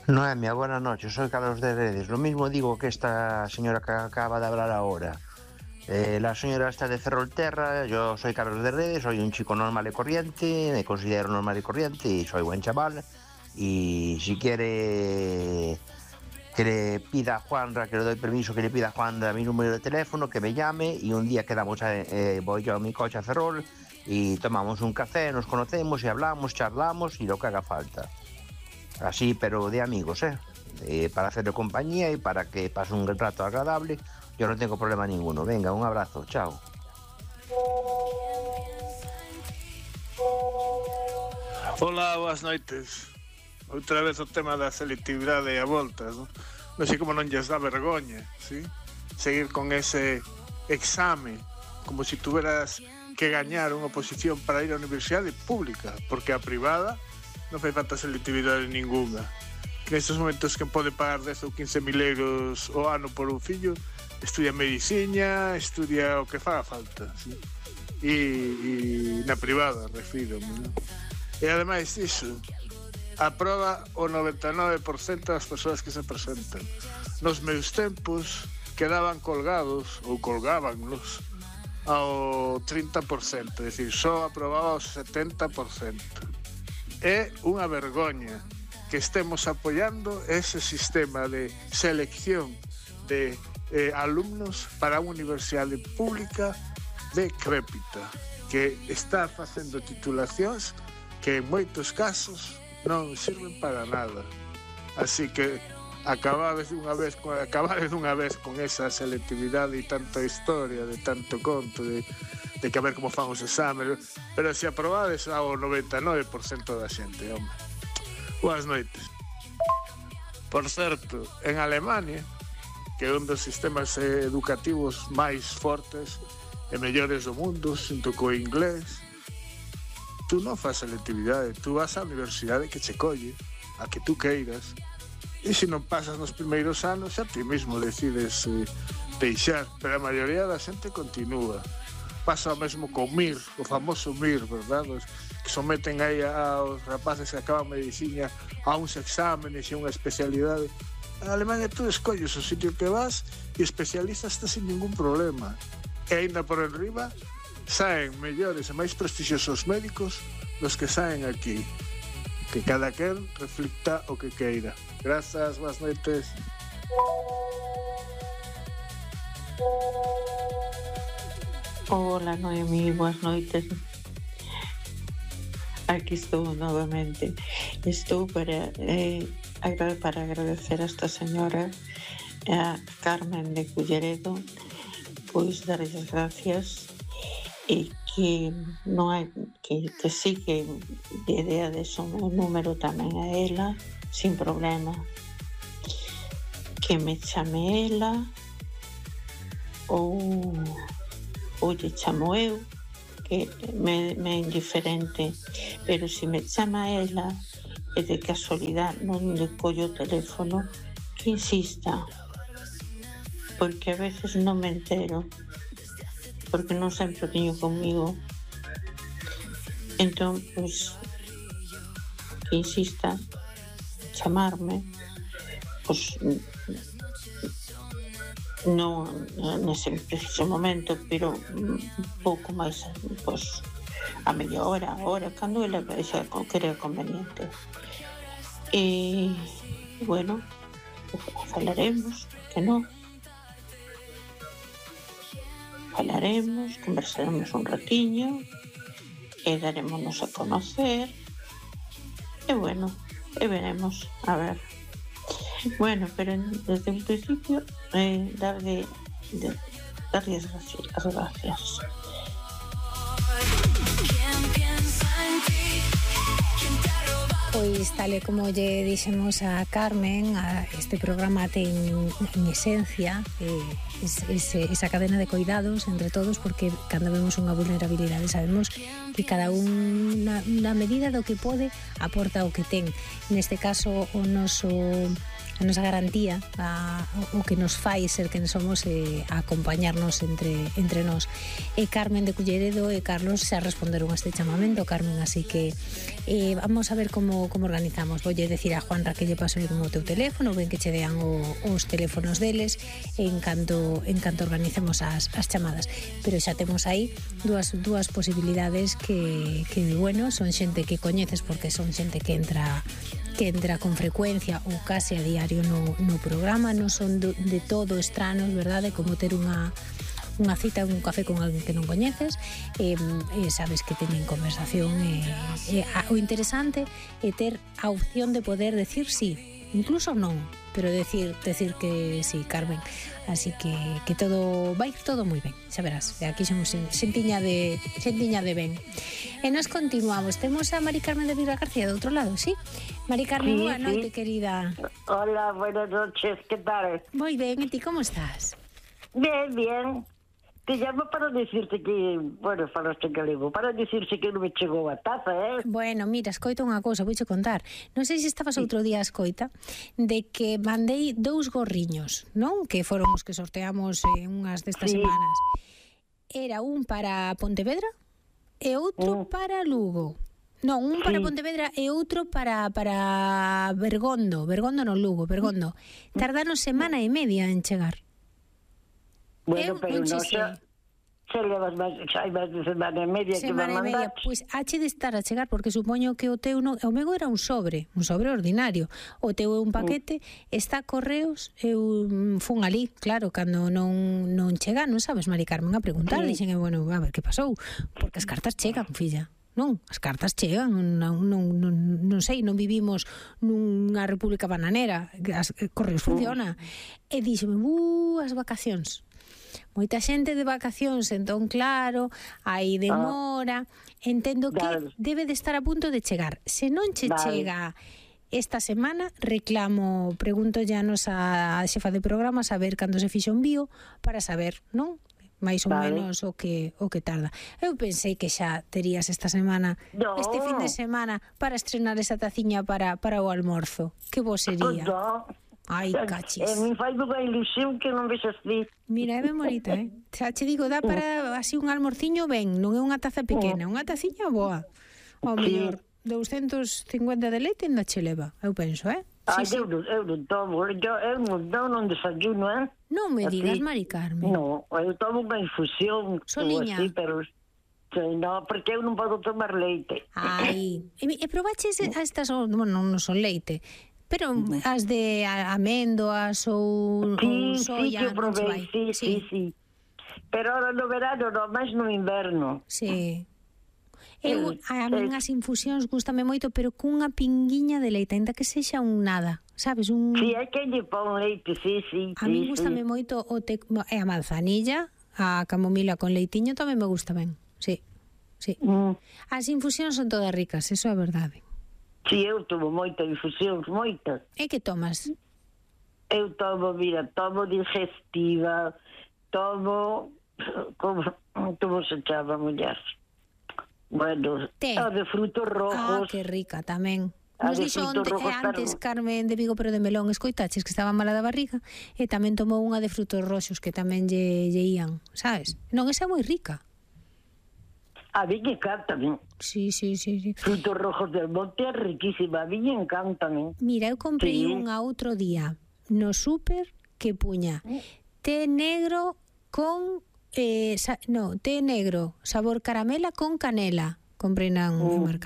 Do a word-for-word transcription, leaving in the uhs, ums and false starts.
Noemia, buenas noches, soy Carlos de Redes. Lo mismo digo que esta señora que acaba de hablar ahora. Eh, la señora está de Ferrolterra, yo soy Carlos de Redes, soy un chico normal y corriente, me considero normal y corriente y soy buen chaval. Y si quiere que le pida a Juanra, que le doy permiso que le pida a Juanra mi número de teléfono, que me llame y un día quedamos, a, eh, voy yo a mi coche a Ferrol y tomamos un café, nos conocemos y hablamos, charlamos y lo que haga falta. Así, pero de amigos, ¿eh? eh para hacerle compañía y para que pase un rato agradable. Yo no tengo problema ninguno. Venga, un abrazo, chao. Hola, boas noites. Outra vez o tema da selectividade a voltas, non? Non sei como non lles dá vergoña, ¿sí? Seguir con ese exame como se si tuveras que gañar unha oposición para ir á universidade pública, porque a privada non fai falta selectividade ninguna. Que nestes momentos que pode pagar dez ou quince mil euros o ano por un fillo, estudia medicina, estudia o que faga falta, ¿sí? E, e na privada, refiro, ¿no? E ademais disso, aproba o noventa e nove por cento das persoas que se presentan. Nos meus tempos quedaban colgados ou colgábannos ao trinta por cento, é dicir, só aprobaba o setenta por cento. É unha vergoña que estemos apoiando ese sistema de selección de eh, alumnos para unha universidade pública decrépita, que está facendo titulacións que en moitos casos non sirven para nada. Así que acabades dunha vez, acabades dunha vez con esa selectividade e tanta historia, de tanto conto, de, de que a ver como fan os exámenes, pero se aprobades ao noventa e nove por cento da xente, hombre. Boas noites. Por certo, en Alemania, que é un dos sistemas educativos máis fortes e mellores do mundo, xunto co inglés, tú non faz selectividade, tú vas á universidade que che colle, a que tú queiras, e se non pasas nos primeiros anos, xa ti mesmo decides eh, deixar, pero a maioría da xente continúa. Pasa o mesmo co M I R, o famoso M I R, verdad? Os que someten aí aos rapaces que acaban medicina a uns exámenes e unha especialidade. En Alemania tú escolles o sitio que vas e especializaste sin ningún problema. E ainda por enriba, saen mellores e máis prestixiosos médicos dos que saen aquí. Que cada quen reflicta o que queira. Grazas, boas noites. Hola, Noemí, boas noites. Aquí estou novamente. Estou para, eh, para agradecer a esta señora, a Carmen de Culleredo, pois darles as gracias e que non hai que, que sí que de idea de son o número tamén a ela sin problema, que me chame ela ou ou lle chamo eu, que me, me é indiferente, pero se me chama ela e de casualidade non le collo o teléfono, que insista, porque a veces non me entero, porque non sempre o teño comigo. Entón, pois, que insista, chamarme, pois, non nese preciso momento, pero un pouco máis, pois, a media hora, a hora, cando ela xa crea conveniente. E, bueno, falaremos, que non? Falaremos, conversaremos un ratiño e darémonos a conocer e bueno, e veremos, a ver. Bueno, pero desde un principio eh, darle, de, darle as gracias, as gracias. Pois tal e como lle dixemos a Carmen, a este programa ten en esencia eh, ese, esa cadena de cuidados entre todos, porque cando vemos unha vulnerabilidade sabemos que cada un na, na medida do que pode aporta o que ten. Neste caso o noso a nosa garantía, a, o que nos fai ser quen somos, e a acompañarnos entre, entre nós. E Carmen de Culleredo e Carlos xa responderon a este chamamento, Carmen, así que eh, vamos a ver como, como organizamos. Voulle decir a Juanra que lle paso como o teu teléfono, ben que che dean o, os teléfonos deles en canto, en canto organicemos as, as chamadas. Pero xa temos aí dúas, dúas posibilidades que, que, bueno, son xente que coñeces porque son xente que entra que entra con frecuencia ou case a diario no, no programa, non son de, de todo estranos, verdade, como ter unha unha cita, un café con alguén que non coñeces, e, e sabes que teñen conversación, e, e a, o interesante é ter a opción de poder decir sí, incluso non, pero decir decir que sí, Carmen. Así que que todo vai ir todo moi ben, xa verás. E aquí somos xentiña de xentiña de ben. E nos continuamos. Temos a Mari Carmen de Vila García do outro lado, ¿sí? Mari Carmen, sí, boa sí. Noite, querida. Hola, buenas noches, que tal? Moi ben, e ti como estás? Bien, bien. Te llamo para decirte que, bueno, falaste en galego, para decirte que non me chegou a taza, eh? Bueno, mira, escoita unha cousa, vouche contar. Non sei se estabas sí. outro día a escoita de que mandei dous gorriños, non? Que foron os que sorteamos en unhas destas sí. semanas. Era un para Pontevedra e outro mm. para Lugo. Non, un para sí. Pontevedra e outro para para Bergondo, Bergondo non Lugo, Bergondo. Tardaron semana e media en chegar. Bueno, eu, pero non xa, xa levas máis, xa hai máis de semana e media semana que me mandaste. Pois pues, hache de estar a chegar, porque supoño que o teu non, o meu era un sobre, un sobre ordinario. O teu é un paquete, mm. está a correos, eu fun ali, claro, cando non non chega, non sabes, Mari Carmen, a preguntar, sí. dixen, bueno, a ver que pasou, porque as cartas chegan, filla. Non, as cartas chegan, non, non, non, non sei, non vivimos nunha república bananera, as correos funciona. Mm. E dixeme, uh, as vacacións. Moita xente de vacacións, entón claro, hai demora, entendo que vale. debe de estar a punto de chegar. Se non che vale. chega esta semana, reclamo, pregunto ya nos a xefa de programa saber cando se fixo un envío para saber, non? Mais ou vale. menos o que o que tarda. Eu pensei que xa terías esta semana, no. este fin de semana para estrenar esa taciña para para o almorzo. Que bo sería? No. Ai, cachis. E me fai unha ilusión que non vexas ti. Mira, é ben bonita, eh? Xa che digo, dá para así un almorciño ben, non é unha taza pequena, unha taciña boa. Ao mellor, doscientos cincuenta de leite ainda che leva, eu penso, eh? Ai, sí, eu, sí. eu non tomo, eu, eu non, eu non desayuno, eh? Non me así. digas, Mari Carmen. Non, eu tomo unha infusión. Soliña. Así, pero... non, porque eu non podo tomar leite. Ai, e, e probaches a estas, bueno, non son leite, pero as de amendoas ou, sí, ou soya, sí, que eu probei, sí, sí, sí, sí. Pero ahora no verano, non, máis no inverno. Sí. Eu, a min as infusións gústame moito, pero cunha pinguiña de leite, ainda que sexa un nada, sabes? Un... Sí, hai que lle pon leite, sí, sí. A mí gústame sí. moito o te... e a manzanilla, a camomila con leitiño tamén me gusta ben, sí, sí. Mm. As infusións son todas ricas, eso é verdade. Si, sí, eu tomo moita infusións, moitas. E que tomas? Eu tomo, mira, tomo digestiva, tomo, como, como se chama, muller? Bueno, Té. A de frutos rojos. Ah, que rica tamén. Nos dixo onte, antes Carmen de Vigo, pero de melón, escoitaches que estaba mala da barriga, e tamén tomou unha de frutos roxos que tamén lle, lle ían, sabes? Non, esa é moi rica. A mí me encanta, ¿no? Sí, sí, sí, sí. Frutos rojos del monte é riquísima, a mí me encanta, ¿no? Mira, eu comprei sí. unha outro día no súper que puña té negro con eh, sa, no, té negro, sabor caramela con canela. Comprei na un mm. mercado